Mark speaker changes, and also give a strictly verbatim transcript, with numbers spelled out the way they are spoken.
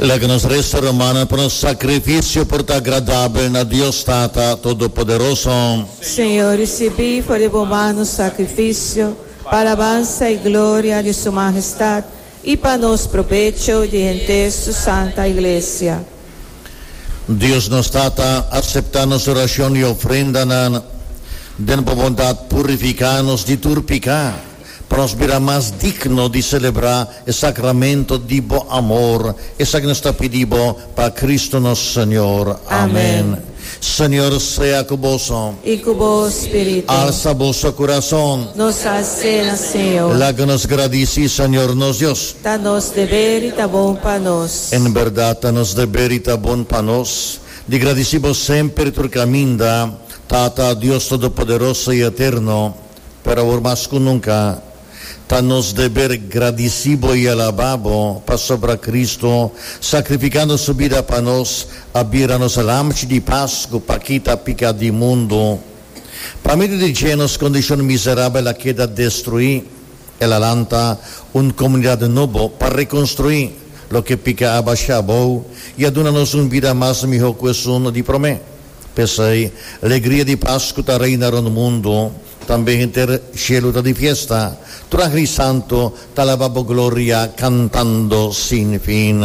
Speaker 1: Laga nos resa, rumannan, pa nos sakrifisio por ta agradabel na Dios Tata Todopoderoso.
Speaker 2: Señor, risibí for di bo man nos sakrifisio, pa alabansa i gloria di Su Mahestat i pa nos probecho di henter Su Santa Iglesia.
Speaker 1: Dios nos Tata, aseptá nos orashon i ofrendanan. Den bo bondat purifiká nos di tur piká, pa nos bira mas digno di selebrá e sakramento di bo amor. Esaki nos ta pidi bo pa Kristu nos Señor. Amèn. Señor sea ku boso.
Speaker 2: I ku bo spiritu.
Speaker 1: Alsa boso kurason.
Speaker 2: Nos a hals'é na Señor.
Speaker 1: Laga nos gradisí Señor nos Dios.
Speaker 2: Ta nos deber i ta bon pa nos.
Speaker 1: En bèrdat ta nos deber i ta bon pa nos di gradisí bo semper i tur kaminda, Tata, Dios Todopoderoso i Eterno, pero awor mas ku nunka, ta nos deber gradisí bo i alabá bo, pasobra Kristu, sakrifikando su bida pa nos, a bira nos Lamchi di Pasku pa kita piká di mundu. Pa medio di dje nos kondishon miserabel a keda destruí. El a lanta un komunidat nobo pa rekonstruí loke piká a basha abou i a duna nos un bida mas mihó ku esun di promé. P'esei, alegria di Pasku ta reina rònt mundu, tambe henter shelu ta di fiesta. Tur angel i santu ta alabá bo gloria kantando sin fin.